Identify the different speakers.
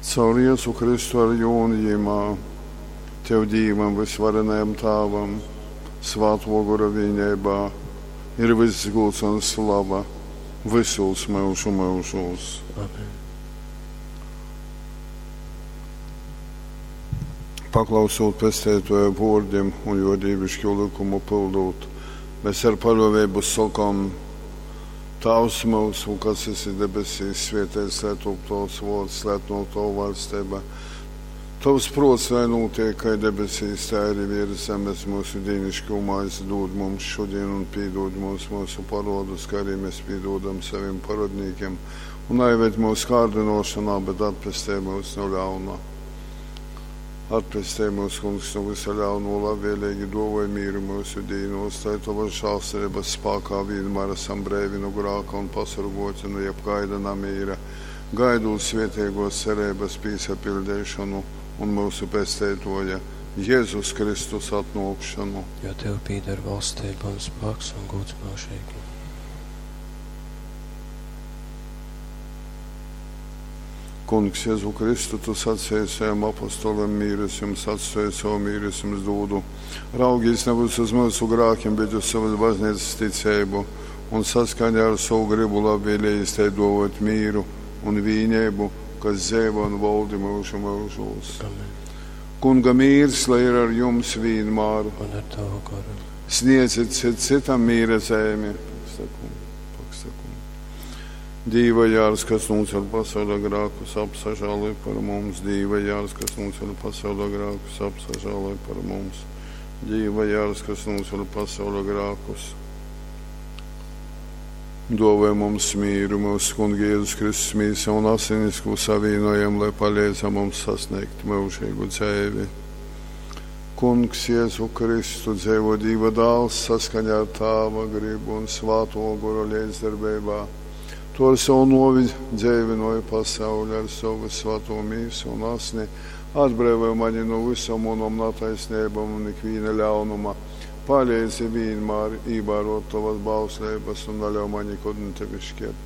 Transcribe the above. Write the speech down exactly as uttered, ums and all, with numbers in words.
Speaker 1: Caur Jezu Kristu ar jū un jimā, Tev Dīvam vysvarenajam Tāvam, Svātō Gora vīneibā, ir vyss gūds un slava vysūs myužu myužūs.
Speaker 2: Amen.
Speaker 1: Paklausūt Pesteitōja vōrdim un jō dīviškū lykumu pyldūt, mēs ar paļōveibu sokom: Tāvs myusu, kas esi debesīs, svēteits lai top tovs vōrds, lai atnōk tova vaļsteiba. Tovs prōts lai nūtiek kai debesīs, tai arī virs zemes. Myusu dīniškū maizi dūd mums šodien un pīdūd mums mūsu parodus, kā arī mēs pīdūdam saviem parodnīkiem. Un aived mūs kārdinošanā, bet atpestej mūs no ļauna. Atpestej mūs, Kungs, no visa ļauno, labvēlīgi dovoj mīru mūsu dīnos, lai tavas žēlsirdības spākā vienmēr esam breivi no grāka un pasorgoti no jebkaida namīra, gaidot svētīgos cerības pīsapildīšanu un mūsu pesteitoja Jēzus Kristus atnākšanu.
Speaker 2: Jo Tev pīder valstība un spēks un gods mūžīgi.
Speaker 1: Kungs, Jēzu Kristu, tu sacīji saviem apostoliem, mīrus jums atstāju, savu mīru es jums dodu. Raugīs nevis uz mūsu grākiem, bet uz savas baznīcas ticību, un saskaņā ar savu gribu labvēlījis tai dovot mīru un vīnību, kas dzīvo un valdi mūžu mūžos.
Speaker 2: Amen.
Speaker 1: Kunga mīrs, lai ir ar jums vienmēr.
Speaker 2: Un ar tavu garu.
Speaker 1: Sniedziet cit citam mīra zemi. Paksakum, paksakum. Dīva jārs, kas nūceļ pasaules grākus, apsažāloj par mums. Dīva jārs, kas nūceļ pasaules grākus, apsažāloj par mums. Dīva jārs, kas nūceļ pasaules grākus. Dovē mums mīru, mūsu Kunga Jēzus Kristus mīsa un asinis, ko savīnojam, lai palīdz mums sasniegt mūžīgu dzīvi. Kungs Jēzu Kristu dzīvo Dieva dāls saskaņā ar Tāva gribu un Svāto Gora līdzdarbībā. Tu ar savu novi dzīvinoji pasauli, ar savu svēto mīsu un asni, atbrīvoji mani no visam manam netaisnībām un ikviena ļaunuma. Palīdzi vienmēr ievērot tavas bauslības un neļauj man nekad no tevis šķirties.